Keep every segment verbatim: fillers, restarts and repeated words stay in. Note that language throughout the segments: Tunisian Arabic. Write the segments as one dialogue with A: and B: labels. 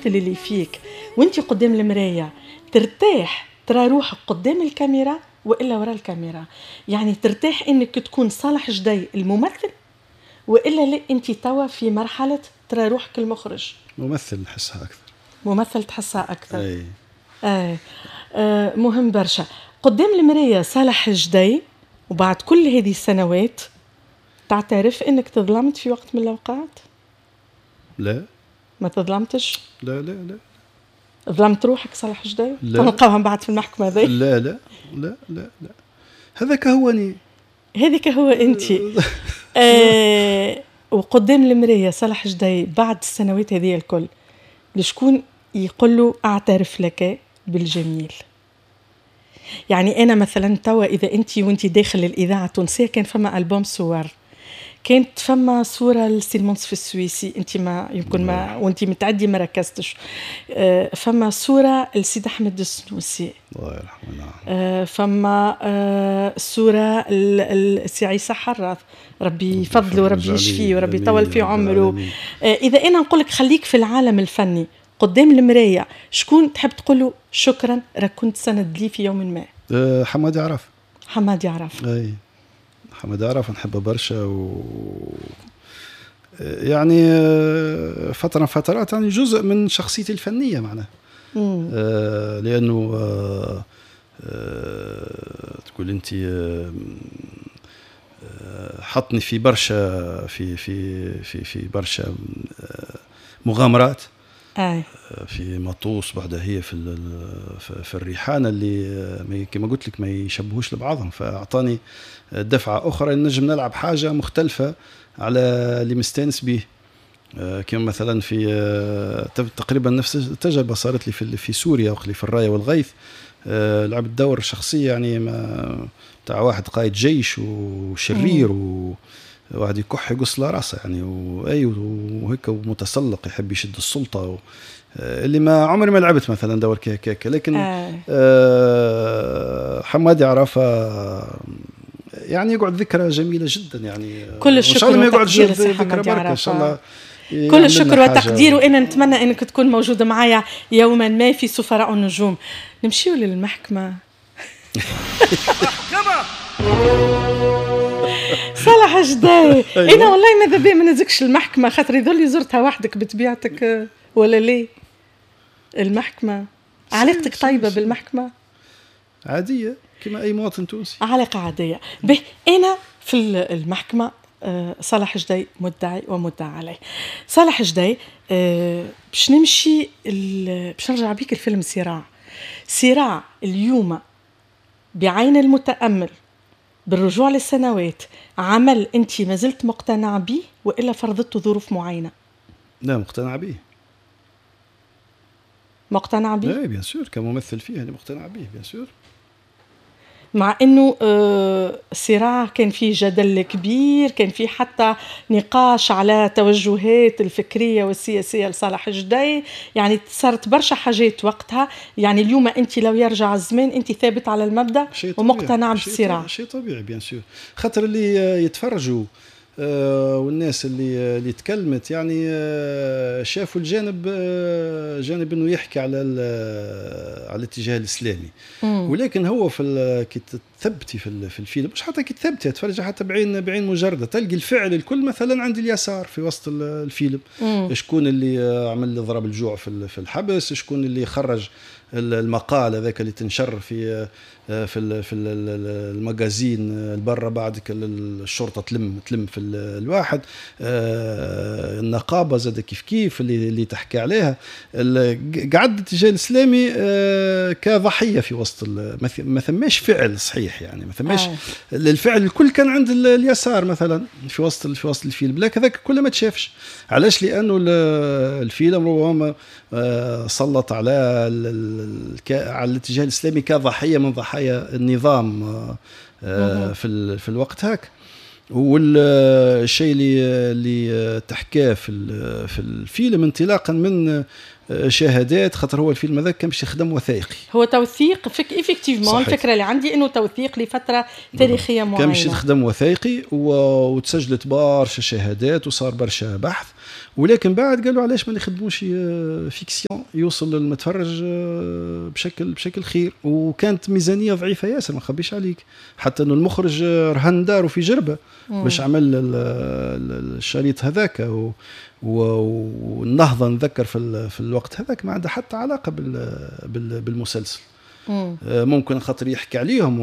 A: الممثل اللي فيك وانت قدام المراية ترتاح ترى روحك قدام الكاميرا والا وراء الكاميرا؟ يعني ترتاح انك تكون صالح جدي الممثل والا لا انت توا في مرحلة ترى روحك المخرج؟
B: ممثل نحسها اكثر.
A: ممثل تحسها اكثر.
B: اي
A: آه. آه مهم برشا قدام المراية صالح جدي، وبعد كل هذه السنوات تعترف انك تظلمت في وقت من الاوقات؟
B: لا.
A: ما تظلمتش؟
B: لا لا لا.
A: ظلمت روحك صالح جدي؟
B: لا.
A: نلقاوها من بعد في المحكمة هذه.
B: لا لا لا لا لا، هذاك هو اني،
A: هذاك هو انت. آه وقدام المراية صالح جدي بعد السنوات هذه الكل لشكون يقول له اعترف لك بالجميل؟ يعني انا مثلا توا اذا انت وانت داخل الاذاعة التونسية كان فما البوم صور، كانت فما صوره لسي المنصف السويسي، انت ما يمكن ما وانت متعدي ما ركزتش، آه فما صوره لسيد احمد السنوسي
B: الله يرحمه، نعم،
A: آه فما آه صوره لسي عيسى حراث، ربي يفضله وربي يشفيه وربي يطول في عمره. آه اذا انا نقول لك خليك في العالم الفني قدام المراية، شكون تحب تقول له شكرا راك كنت سند لي في يوم ما؟
B: أه حمادي عرف.
A: حمادي عرف.
B: اي حمادي عرف نحبه برشا، و يعني فترة فترات يعني جزء من شخصيتي الفنية معناها، آه لأنه آه آه تقول أنت آه حطني في برشا في في في في برشا آه مغامرات.
A: آه.
B: في مطوس بعدها هي في في الريحانه اللي كما قلت لك ما يشبهوش لبعضهم، فاعطاني دفعه اخرى نجم نلعب حاجة مختلفة على اللي مستانس به. كما مثلا في تقريبا نفس التجربة صارت لي في في سوريا وقت في الراية والغيث، لعبت دور شخصية يعني ما تاع واحد قائد جيش وشرير و واحد يكح يقص له راسه يعني، واي وهيك ومتسلق يحب يشد السلطة و... اللي ما عمري ما لعبت مثلا دور كيك، لكن آه. آه حمادي عرفه يعني يقعد ذكرى جميلة جدا يعني.
A: كل الشكر والتقدير
B: ذكرى بركة ان شاء الله،
A: كل الشكر والتقدير، وانا نتمنى انك تكون موجودة معايا يوما ما في سفراء النجوم. نمشيو للمحكمة. صالح جداي، انا والله ماذا بيا ما نزكش المحكمة، خاطر يظل زرتها وحدك بطبيعتك ولا ليه؟ المحكمة علاقتك طيبة بالمحكمه؟
B: عادية كما اي مواطن تونسي،
A: علاقة عادية. به انا في المحكمة صالح جداي مدعي ومدعى عليه. صالح جداي باش نمشي باش نرجع بيك الفيلم صراع. صراع اليوم بعين المتامل بالرجوع للسنوات، عمل انت ما زلت مقتنع به والا فرضته ظروف معينة؟
B: لا مقتنع به.
A: مقتنع به؟
B: لا bien sûr، كممثل فيه انا مقتنع به bien sûr.
A: مع انه صراع كان فيه جدل كبير، كان فيه حتى نقاش على توجهات الفكرية والسياسية لصالح جدي، يعني صارت برشا حاجات وقتها. يعني اليوم انت لو يرجع الزمان انت ثابت على المبدا ومقتنع بالصراع؟
B: شيء طبيعي bien sûr، خاطر اللي يتفرجوا والناس اللي اللي تكلمت يعني شافوا الجانب، جانب انه يحكي على على الاتجاه الاسلامي. مم. ولكن هو في كي تثبتي في في الفيلم، مش حتى كي تثبتي تفرجي حتى بعين بعين مجرده، تلقي الفعل الكل مثلا عند اليسار في وسط الفيلم. مم. شكون اللي عمل ضرب الجوع في في الحبس، شكون اللي خرج المقال هذاك اللي تنشر في في في ال magazine البرة، بعد الشرطة تلم تلم في الواحد، النقابة زاد كيف كيف اللي اللي تحكي عليها. قعد الاتجاه الاسلامي كضحيه في وسط، ما ثماش فعل صحيح يعني، ما ثماش آه. الفعل الكل كان عند اليسار مثلا في وسط في وسط الفيلم، لكن هذاك كله ما تشافش. علاش؟ لانه الفيلم ربما سلط على على الاتجاه الاسلامي كضحيه من ضحايا النظام في في الوقت هاك. والشيء اللي اللي تحكاه في في الفيلم انطلاقا من شهادات، خاطر هو الفيلم هذا كان باش يخدم وثائقي،
A: هو توثيق فك effectivement. الفكرة اللي عندي انه توثيق لفترة تاريخية معينة،
B: كان باش يخدم وثائقي وتسجلت برشا شهادات وصار برشا بحث، ولكن بعد قالوا علاش ما نخدموش fiction يوصل للمتفرج بشكل بشكل خير. وكانت ميزانية ضعيفة ياسر، ما نخبيش عليك، حتى انه المخرج رهن داره في جربه باش عمل الشريط هذاك. والنهضه نذكر في في الوقت هذاك ما عندها حتى علاقة بالمسلسل. مم. ممكن خاطر يحكي عليهم،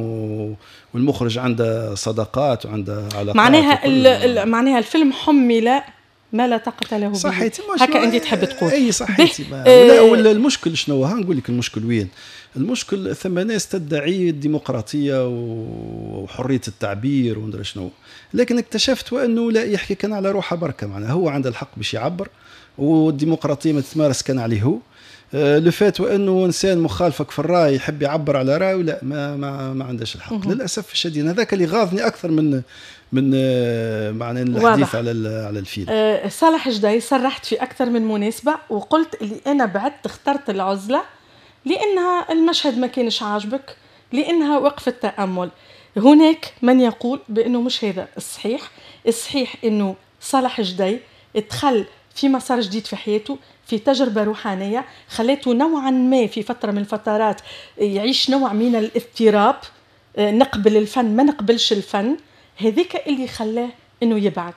B: والمخرج عنده صداقات وعنده علاقات.
A: معناها معناها الفيلم حمل ما لا طاقة له.
B: صحيتي،
A: هكا انت تحب تقول.
B: اي صحيتي. آه ولا المشكل شنو؟ ها نقول لك المشكل وين؟ المشكل ثم ناس تدعي الديمقراطية وحرية التعبير وندري شنو، لكن اكتشفت وانه لا يحكي كان على روحه بركة، معناها هو عنده الحق باش يعبر، والديمقراطية ما تتمارس كان عليه هو. لو فات وانه انسان مخالفك في الراي يحب يعبر على رايه، لا ما ما, ما عندهش الحق. مه. للاسف الشديد هذاك اللي غاضني اكثر من من معنى الحديث على على الفيلم.
A: أه صالح جدي، صرحت في اكثر من مناسبة وقلت اللي انا بعدت اخترت العزلة لانها المشهد ما كانش عاجبك، لانها وقفه تامل. هناك من يقول بانه مش هذا الصحيح، الصحيح انه صالح جدي دخل في مسار جديد في حياته، في تجربة روحانية خلته نوعا ما في فترة من الفترات يعيش نوع من الاضطراب، نقبل الفن ما نقبلش الفن، هذيك اللي خلاه انه يبعد.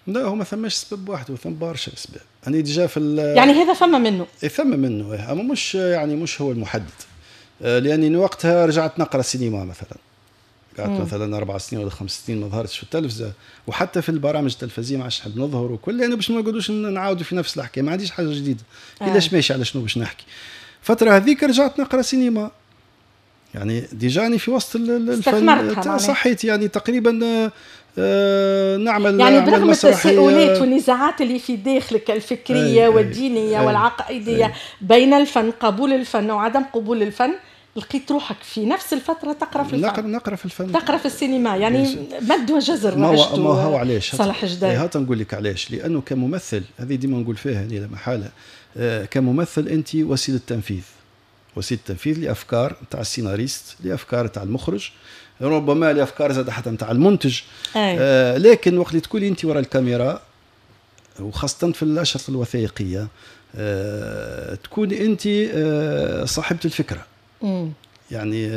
B: لا هو ما ثماش سبب واحد، وثم برشا اسباب. انا déjà في
A: يعني هذا فما منه،
B: اي ثم منه، اما مش يعني مش هو المحدد، لاني وقتها رجعت نقرا سينما مثلا، قعدت مثلا اربع سنين ولا خمس سنين ما ظهرتش في التلفزة، وحتى في البرامج التلفزيونية ما عادش نحب نظهر وكل، لانه باش ما نقعدوش نعاودوا في نفس الحكاية، ما عنديش حاجة جديدة. علاش آه. ماشي على شنو باش نحكي؟ الفترة هذيك رجعت نقرا سينما، يعني déjà ني في وسط الفن صحيت، يعني تقريبا آه نعمل
A: يعني برغم التساؤلات والنزاعات اللي في داخلك الفكرية أي والدينية أي والعقائديه أي بين الفن، قبول الفن وعدم قبول الفن، لقيت روحك في نفس الفترة تقرا في الفن.
B: نقرا نقرا في الفن،
A: تقرا في السينما، يعني مد وجزر.
B: ما هو ما هو علاش
A: صالح جدي؟
B: هات نقول لك علاش. لانه كممثل، هذه ديما نقول فيها هذه لا محالة، آه كممثل انت وسيلة تنفيذ، وسيلة تنفيذ لافكار نتاع السيناريست، لافكار نتاع المخرج، ربما لافكار زاد حتى نتاع المنتج. آه لكن وقت اللي تكوني انت وراء الكاميرا، وخاصة في الاشرطة الوثائقية، آه تكوني انت آه صاحبه الفكرة. مم. يعني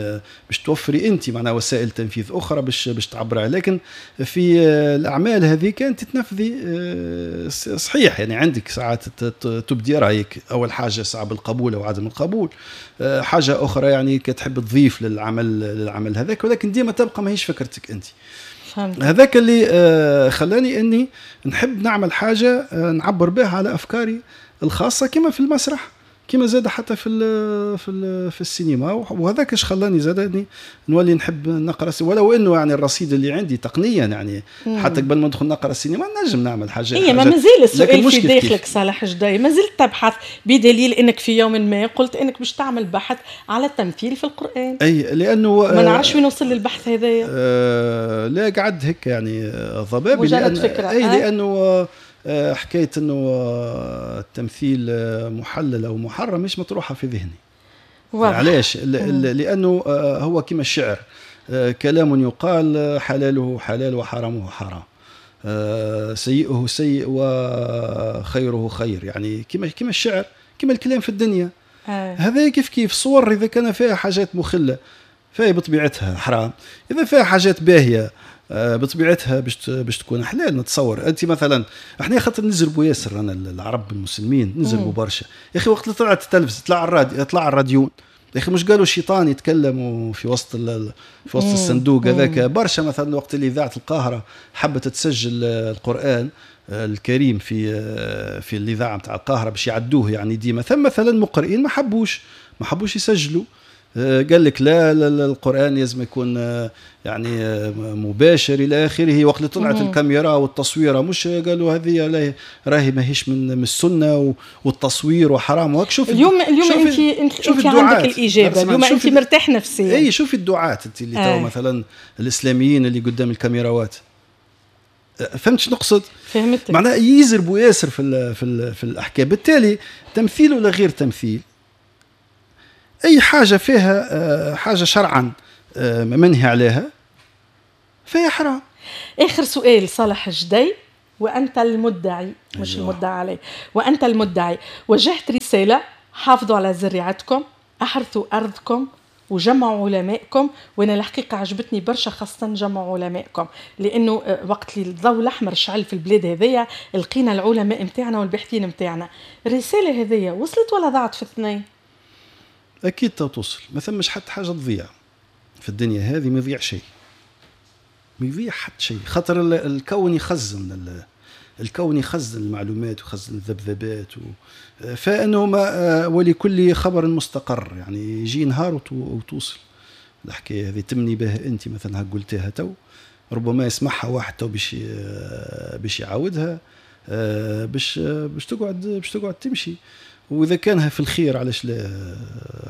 B: باش توفري انت معناها وسائل تنفيذ اخرى باش باش تعبرها، لكن في الاعمال هذيك انت تنفذي صحيح، يعني عندك ساعات تبدي رايك، اول حاجة ساعة بالقبول او عدم القبول، حاجة اخرى يعني كتحب تضيف للعمل للعمل هذاك، ولكن ديما تبقى ماهيش فكرتك انت. فهمت. هذاك اللي خلاني اني نحب نعمل حاجة نعبر بها على افكاري الخاصة، كما في المسرح، كما زاد حتى في ال في ال في السينما. وهذاك اش خلاني زاد اني نولي نحب نقرا، ولو انه يعني الرصيد اللي عندي تقنيا يعني مم. حتى قبل ما ندخل نقرا السينما نجم نعمل حاجة.
A: اي ما مازال السؤال في داخلك صالح جدي، ما زلت تبحث، بدليل انك في يوم ما قلت انك باش تعمل بحث على التمثيل في القران.
B: اي لانه
A: ما نعرفش وين وصل للبحث هذايا.
B: آه لا قعد هيك يعني ضبابي،
A: مجرد فكرة.
B: اي لانه حكاية انه التمثيل محلل او محرم مش مطروحة في ذهني. علاش؟ لانه هو كما الشعر، كلام يقال حلاله حلال وحرامه حرام، سيئه سيء وخيره خير، يعني كما كما الشعر، كما الكلام في الدنيا. آه. هذا كيف كيف صور اذا كان فيها حاجات مخله فهي بطبيعتها حرام، اذا فيها حاجات باهيه بطبيعتها باش باش تكون حلال. نتصور انت مثلا، احنا خاطر نزربوا ياسر، انا العرب المسلمين نزربوا برشا يا اخي. وقت اللي طلعت التلفزة، طلع الراديو، طلع الراديون يا اخي، مش قالوا الشيطان يتكلم في وسط في وسط الصندوق هذاك برشا. مثلا وقت اللي اذاعة القاهرة حبت تسجل القران الكريم في في الاذاعة نتاع القاهرة باش يعدوه يعني ديما، ثم مثلا مقرئين ما حبوش ما حبوش يسجلوا، قال لك لا, لا القرآن لازم يكون يعني مباشر إلى آخره. وقت اللي طلعت الكاميرا والتصويرة مش قالوا هذه راهي ماهيش من السنة والتصوير وحرام. وهك شوف
A: اليوم اليوم انت انت, انت عندك الإجابة اليوم، انت مرتاح نفسيا.
B: اي شوفي الدعاة انت اللي آه. تو مثلا الإسلاميين اللي قدام الكاميراوات، فهمت شنو نقصد؟
A: فهمت.
B: معناها يزربوا ياسر في ال في ال في الأحكام. بالتالي تمثيل ولا غير تمثيل، أي حاجة فيها حاجة شرعا منهي عليها فهي حرام.
A: آخر سؤال صالح جدي، وأنت المدعي مش
B: أيوة.
A: المدعي عليه، وأنت المدعي وجهت رسالة: حافظوا على زريعتكم، أحرثوا أرضكم، وجمعوا علمائكم. وانا الحقيقة عجبتني برشا خاصة جمعوا علمائكم، لانه وقت اللي الضوء الاحمر شعل في البلاد هذيا لقينا العلماء نتاعنا والباحثين نتاعنا. الرسالة هذيا وصلت ولا ضاعت في الثنين؟
B: اكيد توصل، ما ثمش حتى حاجة تضيع في الدنيا هذه، ما يضيع شيء، ما يضيع حتى شيء، خاطر الكون يخزن، الكون يخزن المعلومات ويخزن الذبذبات و... فانه ما ولكل خبر مستقر، يعني يجي نهار وتوصل الحكاية هذه. تمني بها انت مثلا قلتها تو، ربما يسمعها واحد تو باش باش يعاودها، باش باش تقعد باش تقعد تمشي. واذا كانها في الخير علاش لا،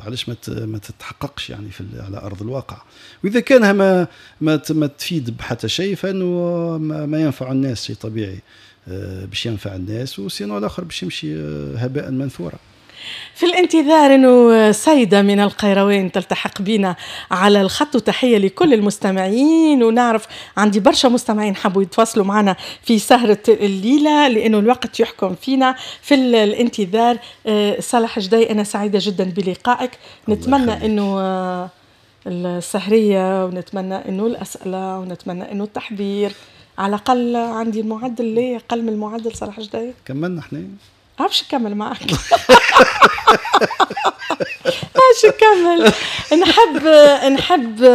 B: علاش ما ما تتحققش يعني في على ارض الواقع. واذا كانها ما ما ما تفيد بحتى شيء فانه ما, ما ينفع الناس، شيء طبيعي باش ينفع الناس، و sinon الاخر باش يمشي هباء منثورا.
A: في الانتظار انه سيده من القيروان تلتحق بنا على الخط، وتحية لكل المستمعين. ونعرف عندي برشا مستمعين حبوا يتواصلوا معنا في سهره الليلة لانه الوقت يحكم فينا. في الانتظار صالح جدي، انا سعيدة جدا بلقائك، نتمنى انه السهريه، ونتمنى انه الاسئلة، ونتمنى انه التحضير على الاقل. عندي المعدل ليه اقل من المعدل صالح جدي؟
B: كملنا احنا،
A: عرفش نكمل معك، عرفش نكمل. نحب نحب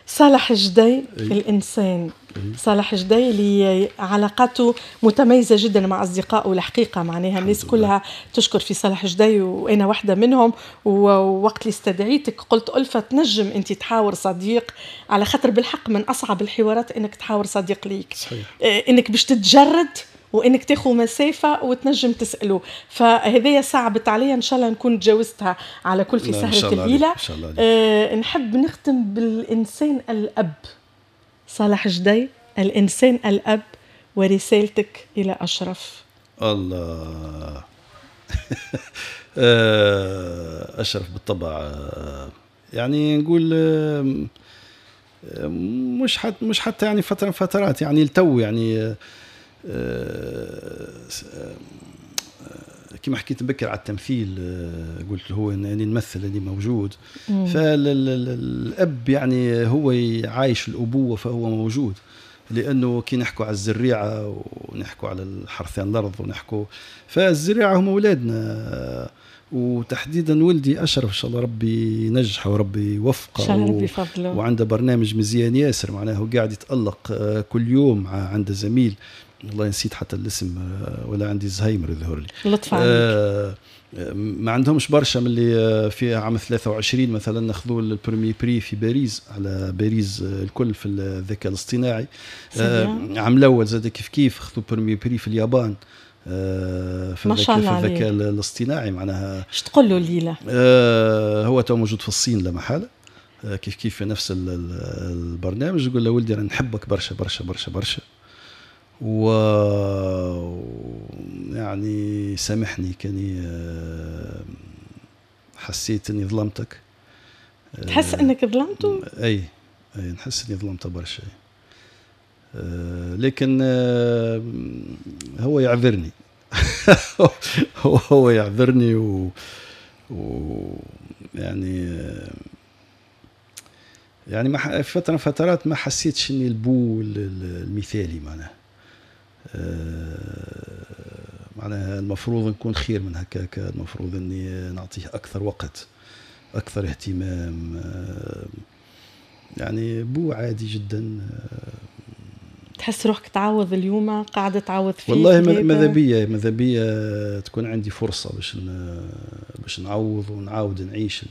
A: صالح جدي الإنسان، صالح جدي اللي علاقاته متميزة جدا مع أصدقائه الحقيقة، معناها الناس كلها تشكر في صالح جدي وأنا واحدة منهم. ووقت اللي استدعيتك قلت ألفة تنجم أنت تحاور صديق، على خاطر بالحق من أصعب الحوارات أنك تحاور صديق ليك.
B: صحيح.
A: أنك باش تتجرد وانك تاخذ مسافة وتنجم تساله، فهذه صعبت عليا، ان شاء الله نكون تجاوزتها على كل في سهره الليلة. آه نحب نختم بالانسان الاب صالح جدي، الانسان الاب ورسالتك الى اشرف.
B: الله اشرف بالطبع، يعني نقول مش حتى مش حتى يعني فترة فترات يعني التو يعني كما حكيت بكر على التمثيل، قلت هو اني نمثل اني موجود. فالاب يعني هو عايش الابوة فهو موجود، لانه كي نحكوا على الزريعه ونحكوا على الحرثان الارض ونحكوا، فالزريعه هم اولادنا، وتحديدا ولدي اشرف ان شاء الله ربي ينجحه وربي يوفقه،
A: ان شاء الله ربي يفضله،
B: وعنده برنامج مزيان ياسر، معناه قاعد يتالق كل يوم، عنده زميل والله نسيت حتى الاسم ولا عندي زهايمر يظهر لي،
A: لطف عليك.
B: آه ما عندهمش برشا من اللي في عام ثلاثة وعشرين مثلا ناخذوا ال premier prix في باريس، على باريس الكل في الذكاء الاصطناعي. آه عام الاول زاد كيف كيف خذوا premier prix في اليابان آه في الذكاء في الذكاء الاصطناعي. معناها
A: اش تقول له الليلة؟
B: آه هو تو موجود في الصين لا محالة، آه كيف كيف في نفس البرنامج. يقول له ولدي انا نحبك برشا برشا برشا برشا، و يعني سامحني كاني حسيت اني ظلمتك.
A: تحس انك ظلمته؟
B: اي اي نحس اني ظلمته برشا، لكن هو يعذرني هو يعذرني و, و يعني يعني ما فترة فترات ما حسيتش اني البو المثالي، معناها معناها المفروض نكون خير من هكاك، المفروض اني نعطيه اكثر وقت، اكثر اهتمام، يعني بو عادي جدا.
A: تحس روحك تعوض اليوم، قاعدة تعوض فيه؟
B: والله ماذا بيا ماذا بيا تكون عندي فرصة باش باش نعوض ونعاود نعيش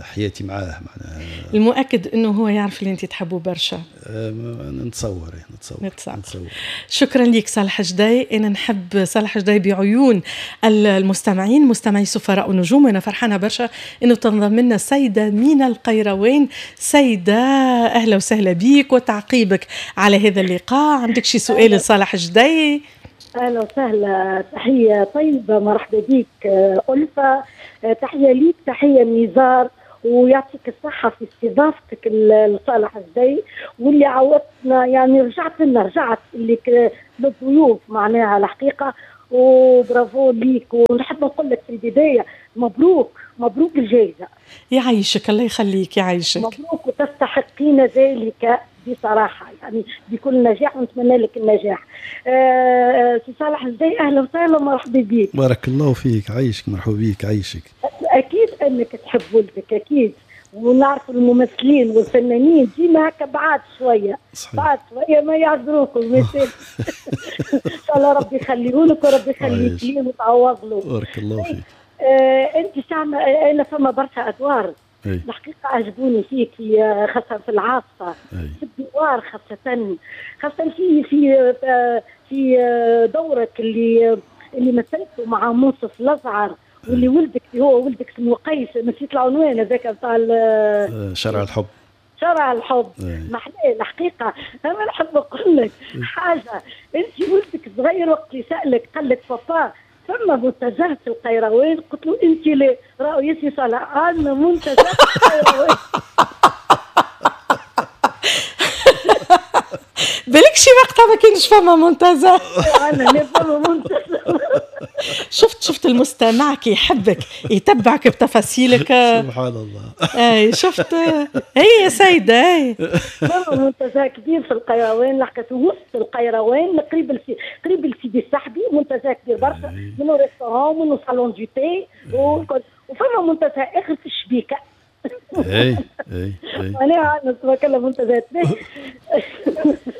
B: حياتي معاه. معناها
A: المؤكد انه هو يعرف اللي انت تحبه برشا.
B: نتصور نتصور
A: نتصور, نتصور. شكرا لك صالح جدي. انا نحب صالح جدي بعيون المستمعين، مستمعي سفراء ونجوم. انا فرحانة برشا انه تنضم لنا سيده من القيروان. سيده اهلا وسهلا بيك وتعقيبك على هذا اللقاء. عندك شي سؤال لصالح جدي؟
C: اهلا وسهلا، تحية طيبة، مرحبا بك ألفة، تحية ليك، تحية نزار ويعطيك الصحة في استضافتك لصالح الجدي، واللي عودتنا يعني رجعت لنا رجعت اللي للضيوف معناها الحقيقة، وبرافو ليك. ونحب نقول لك في البداية مبروك مبروك الجائزة.
A: يعيشك الله يخليك يعيشك.
C: مبروك وتستحقين ذلك بصراحة يعني بكل نجاح، ونتمنى لك النجاح. آه سي صالح الجدي اهلا وسهلا ومرحبا بك.
B: بارك الله فيك عايشك، مرحبا بك عايشك.
C: اكيد انك تحب ولدك اكيد، ونعرف الممثلين والفنانين ديما هكا بعاد شوية بعاد شوية ما يعذروكم. ان شاء الله ربي يخليهولك وربي يخليك ليه وتعوض له.
B: بارك الله فيك.
C: آه انت سامع انا فما برشا ادوار الحقيقة عجبوني فيك، خاصة في العاصفة، في الدوار، خاصة خاصة في في في دورك اللي اللي مثلته مع منصف الازعر، واللي ولدك هو ولدك اسمه قيس، نسيت العنوان هذاك نتاع
B: شارع الحب.
C: شارع الحب محلاه الحقيقة. انا نحب نقول لك حاجة، انت ولدك صغير وقت اللي سالك قال لك بابا فما منتزه في القيروان، قلت له انت ليه؟ راهو يا سي صالح عندنا منتزه في القيروان.
A: بالك شي وقتها ما كانش فما منتزه.
C: انا فما منتزه.
A: شفت شفت المستمع كي يحبك يتبعك بتفاصيلك.
B: سبحان الله.
A: اي شفت هي يا سيده. اي
C: فما منتزه كبير في القيروان، لحقت وسط القيروان قريب السي... قريب السيدي السحبي، منتزه كبير برشا، منه restaurant منه salon de thé، وفما منتزه اخر في الشبيكه.
B: اي اي اي
C: انا نتكلم منتزهات.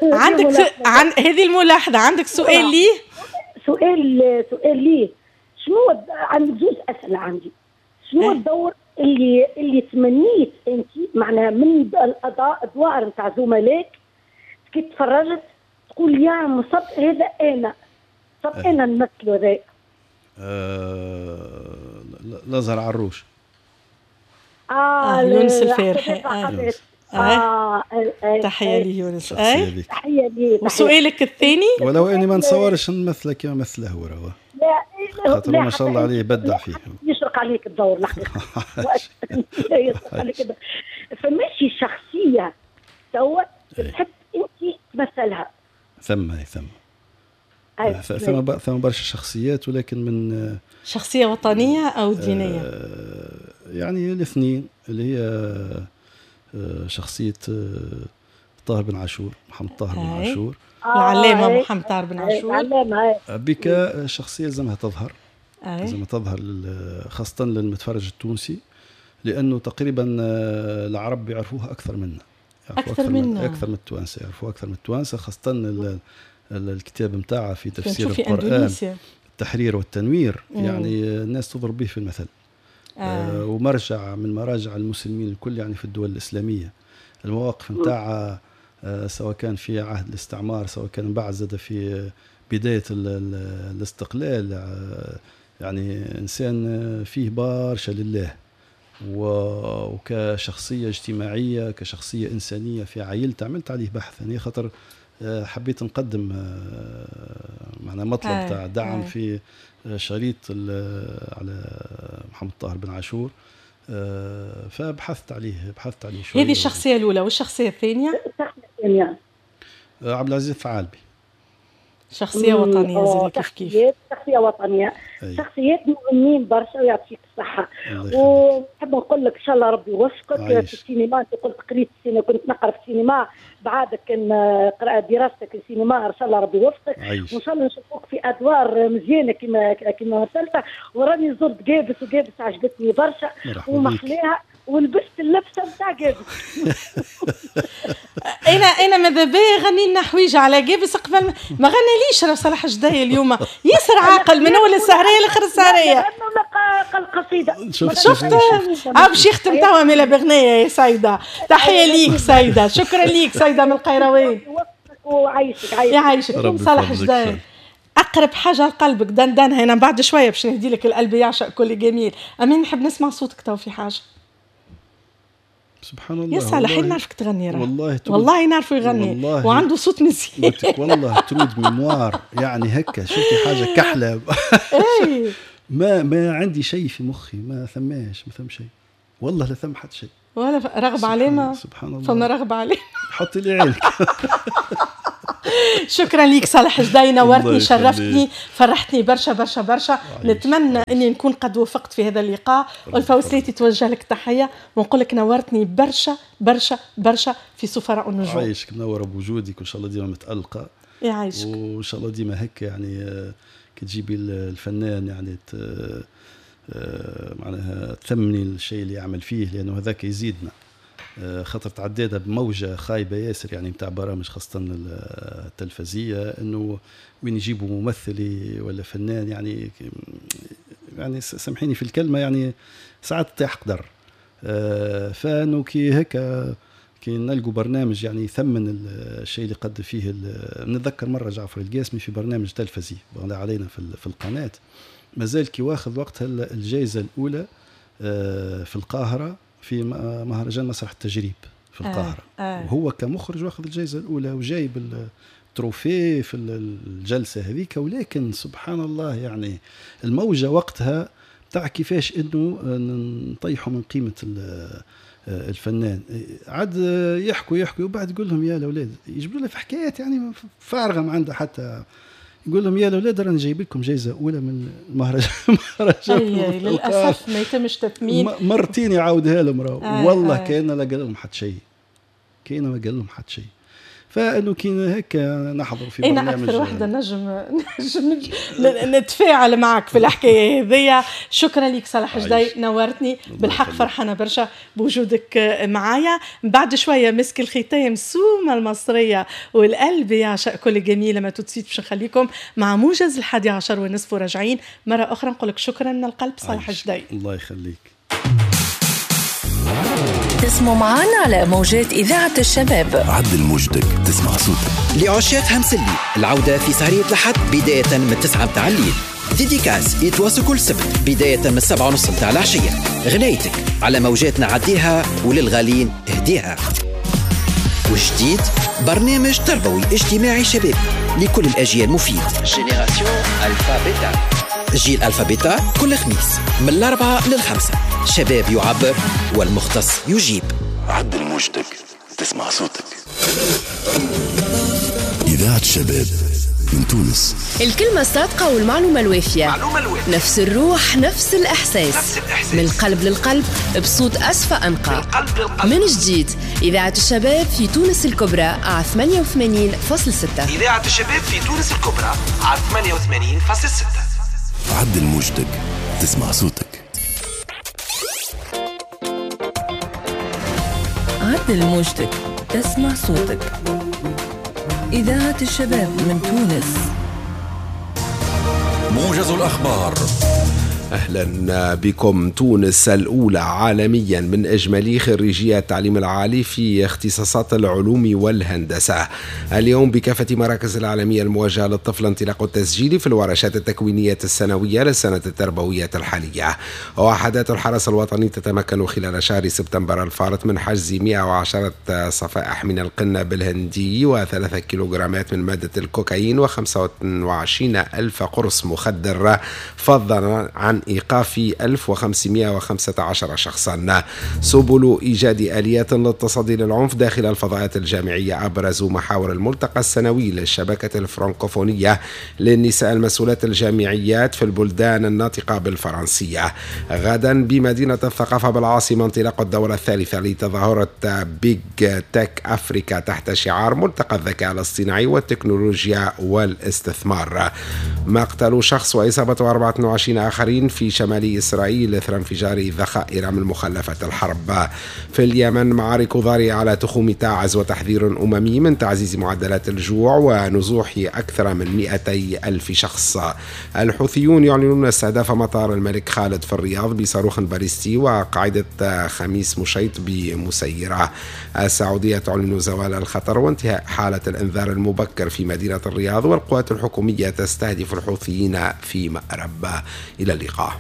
A: عندك س... عن... هذه الملاحظة. عندك سؤال ليه؟
C: سؤال سؤال ليه شنو عندك زوج اسئلة عندي. شنو الدور اللي اللي تمنيت انت معناها من الادوار نتاع زملائك كي تفرجت تقول يا مصب هذا انا، صب انا نمثلو هذا؟
B: أه... الازهر عروش.
C: اه,
A: آه يونس الفارحي.
C: آه. آه. آه.
A: تحية لي يونس.
B: آه.
C: تحية لي.
A: وسؤالك الثاني؟
B: ولو اني ما نصورش نمثله كما مثله هو، راهو
C: لا
B: خاطر ما شاء الله عليه بدع فيه.
C: يشرق عليك الدور الحقيقة. يشرق عليك الدور. فماشي شخصية توا تحب انت تمثلها؟
B: ثم ثم ثم ثم برشا شخصيات، ولكن من
A: شخصية وطنية او دينية؟
B: يعني الاثنين، اللي هي شخصية طاهر بن عاشور، محمد طاهر بن عاشور،
A: العلامة محمد طاهر بن عاشور.
B: بك شخصية لازمها تظهر، لازمها تظهر خاصة للمتفرج التونسي، لأنه تقريبا العرب يعرفوها أكثر منا،
A: أكثر منا،
B: أكثر من التوانسة، يعرفوها أكثر من التوانسة، خاصة الكتاب نتاعها في تفسير القرآن، التحرير والتنوير. مم. يعني الناس تضرب به في المثل. آه. آه ومرجع من مراجع المسلمين الكل يعني في الدول الإسلامية. المواقف نتاعها آه سواء كان في عهد الاستعمار، سواء كان بعد زاد في بداية ال ال الاستقلال، آه يعني إنسان فيه برشا لله، وكشخصية اجتماعية، كشخصية إنسانية في عائلته، عملت عليه بحث يعني خاطر حبيت نقدم معنا مطلب تاع دعم في شريط على محمد طاهر بن عاشور، فبحثت عليه بحثت عليه شوية.
A: هذه الشخصية الأولى، والشخصية الثانية؟
C: الشخصية الثانية
B: عبد العزيز الثعالبي،
A: شخصية وطنية زي كيف كيف.
C: شخصية وطنية. أي. شخصيات مهمين برشا ويعطيك الصحة. ونحب نقول لك إن شاء الله ربي يوفقك في السينما. أنت قلت قريت السينما، كنت نقرا في السينما بعدك كان دراستك السينما، إن شاء الله ربي يوفقك. وإن شاء الله نشوفوك في أدوار مزيانة كما كما مثلت. وراني زرت قابس، وقابس عجبتني برشا ومحلاها، ولبست اللبسه نتاع قابس.
A: انا انا ماذا بيا غني لنا حويجه على قابس قبل ما غناليش راه صلاح جداي اليوم ياسر عاقل من اول السهريه لاخر السهريه.
C: القصيدة
A: شفت شفت اه باش يختم توا ملا بغنيه يا سيده. تحية ليك سيده، شكرا ليك سيده من القيروان.
C: وعايشك عايشك
A: يعيشك صلاح جداي. اقرب حاجة لقلبك دندنها هنا بعد شوية باش نهدي لك القلب يعشق كل جميل. امين نحب نسمع صوتك تو في حاجة.
B: سبحان الله يا
A: صالح نعرفك تغني راه. والله والله نعرفه يغني والله وعنده صوت مزيان.
B: والله trou de mémoire يعني هكا شفتي حاجة كحلة. ما ما عندي شيء في مخي، ما ثماش ما ثم شيء. والله لا ثم حتى شيء
A: ولا رغبة علامة.
B: سبحان الله،
A: فما رغبة علامة.
B: حطي لي عينك.
A: شكرا ليك صالح جدي، نورتني شرفتني فرحتني برشا برشا برشا. نتمنى اني نكون قد وفقت في هذا اللقاء. والفوسليتي توجه لك تحية ونقول لك نورتني برشا برشا برشا في سفراء النجوم.
B: عايشك، منورة بوجودك وان شاء الله ديما متالقه.
A: يعيشك،
B: وان شاء الله ديما هيك يعني كي تجيبي الفنان يعني معناها تثمني الشيء اللي يعمل فيه، لانه هذاك يزيدنا. خاطر تعديتها بموجة خايبة ياسر يعني نتاع برامج خاصة التلفزية، انه وين يجيبوا ممثل ولا فنان يعني يعني سامحيني في الكلمة يعني ساعات تطيح قدر. فانه كي هيك كي نلقوا برنامج يعني يثمن الشيء اللي قد فيه. نتذكر مرة جعفر القاسمي في برنامج تلفزي علينا في القناة، مازال كي واخذ وقتها الجائزة الأولى في القاهرة في مهرجان مسرح التجريب في القاهرة.
A: آه آه.
B: وهو كمخرج واخذ الجائزة الأولى وجايب ال trophée في الجلسة هذيك، ولكن سبحان الله يعني الموجة وقتها تاع كيفاش انه نطيحوا من قيمة الفنان. عاد يحكوا يحكوا وبعد يقول لهم يا الأولاد، يجيبوا له في حكايات يعني فارغة ما عندها حتى، يقول لهم يا الاولاد راني جايب لكم جائزة اولى من المهرجان.
A: مهرجان للاسف ما يتمش تثمين.
B: مرتين يعاودها لهم راهو. آه والله آه. كان لا قال لهم حتى شيء، كان ما قال لهم حتى شيء. فانه كي هيك نحضر في برنامج.
A: انا اكثر وحده نجم نجم نتفاعل معك في الحكاية هذيا. شكرا لك صالح جدي، نورتني بالحق، فرحانة برشا بوجودك معايا. بعد شوية مسك الختام سومه المصرية والقلب يعشق كل جميلة ما تتسيت. باش نخليكم مع موجز الحادي عشر ونصف وراجعين مرة اخرى. نقول لك شكرا من القلب صالح جدي،
B: الله يخليك.
D: تسمعوا معنا على موجات إذاعة الشباب.
E: عدل موجتك تسمع صوتك.
F: لعشاق همسلي العودة في سهرية الأحد بداية من تسعة متاع الليل. dédicace يتواصل كل سبت بداية من سبعة ونص متاع العشية. غنايتك على موجاتنا عديها وللغالين اهديها. وجديد برنامج تربوي اجتماعي شبابي لكل الأجيال مفيد.
G: Génération Alpha Beta،
F: جيل Alpha Beta كل خميس من الأربعة للخمسة. شباب يعبر والمختص يجيب.
E: عدل موجتك تسمع صوتك. إذاعة الشباب من تونس.
D: الكلمة الصادقة والمعلومة الوافية، نفس الروح نفس الإحساس، نفس الإحساس. من القلب للقلب بصوت أسفى أنقى. من جديد إذاعة الشباب في تونس الكبرى على ثمانية وثمانين فاصلة ستة.
H: إذاعة الشباب في تونس الكبرى على ثمانية وثمانين فاصلة ستة.
E: عدل موجتك تسمع صوتك.
D: عدل موجتك تسمع صوتك. إذاعة الشباب من تونس.
E: موجز الأخبار.
I: أهلا بكم. تونس الأولى عالميا من إجمالي خريجي التعليم العالي في اختصاصات العلوم والهندسة. اليوم بكافة مراكز العالمية الموجهة للطفل انطلاق التسجيل في الورشات التكوينية السنوية للسنة التربوية الحالية. وحدات الحرس الوطني تتمكن خلال شهر سبتمبر الفارط من حجز مئة وعشرة صفائح من القنب الهندي وثلاثة كيلوغرامات من مادة الكوكايين وخمسة وعشرين ألف قرص مخدر، فضلا عن إيقاف ألف وخمسمئة وخمسة عشر شخصا. سبل إيجاد آليات للتصدي للعنف داخل الفضاءات الجامعية أبرز محاور الملتقى السنوي للشبكة الفرنكوفونية للنساء المسؤولات الجامعيات في البلدان الناطقة بالفرنسية. غدا بمدينة الثقافة بالعاصمة انطلاق الدورة الثالثة لتظاهرة Big Tech Africa تحت شعار ملتقى الذكاء الاصطناعي والتكنولوجيا والاستثمار. مقتل شخص وإصابة أربعة وعشرين آخرين في شمال إسرائيل إثر انفجار ذخائر من مخلفات الحرب. في اليمن معارك ضارية على تخوم تعز وتحذير أممي من تعزيز معدلات الجوع ونزوح أكثر من مئتي ألف شخص. الحوثيون يعلنون استهداف مطار الملك خالد في الرياض بصاروخ باليستي وقاعدة خميس مشيط بمسيرة. السعودية تعلن زوال الخطر وانتهاء حالة الإنذار المبكر في مدينة الرياض، والقوات الحكومية تستهدف الحوثيين في مأرب. إلى اللقاء.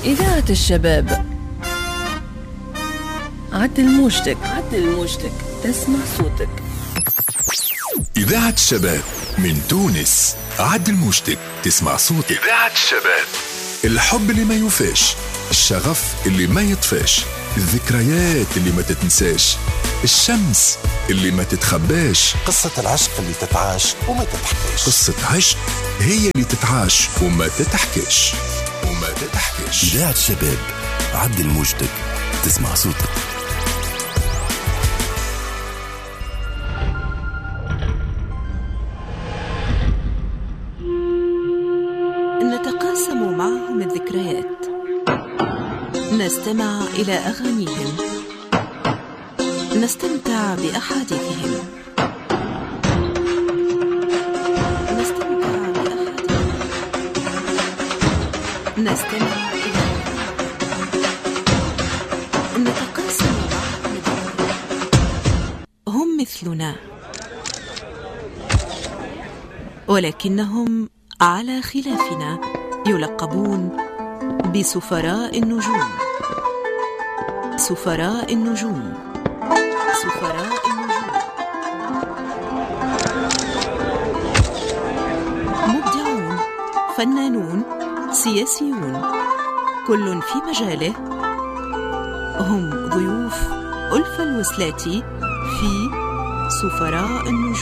D: إذاعة الشباب، عدل موجتك، عدل موجتك تسمع صوتك.
E: إذاعة الشباب من تونس، عدل موجتك تسمع صوتك. إذاعة الشباب. الحب اللي ما يوفاش، الشغف اللي ما يطفاش، الذكريات اللي ما تتنساش، الشمس اللي ما تتخباش،
H: قصة العشق اللي تتعاش وما تتحكاش.
E: قصة عشق هي اللي تتعاش وما تتحكاش وما تتحكاش. إذاعة الشباب، عدل موجتك تسمع صوتك.
J: نتقاسم معهم الذكريات، نستمع إلى أغانيهم، نستمتع بأحاديثهم، نستمتع بأحاديثهم، نستمع إلى، نتقاسم معهم الذكريات. هم مثلنا ولكنهم على خلافنا يلقبون بسفراء النجوم. سفراء النجوم، سفراء النجوم، مبدعون، فنانون، سياسيون، كل في مجاله. هم ضيوف ألفة الوسلاتي في سفراء النجوم.